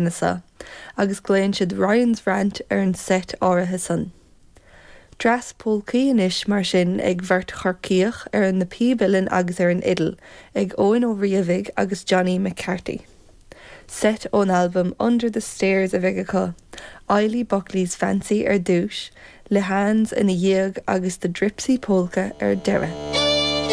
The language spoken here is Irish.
So, agus glaonn siad Ryan's Rant ar an seit áirithe san. Dreas polcaí anois mar sin ag bheirt Chorcaíoch ar na píb uilleann agus ar an fhidil, ag Eoin Ó Riabhaigh agus Johnny McCarthy. Seit ón albam Under the Stairs a bheidh acu, Eilí Buckley's Fancy ar dtús, Lehane's ina dhiaidh agus The Dripsy Polka ar deireadh.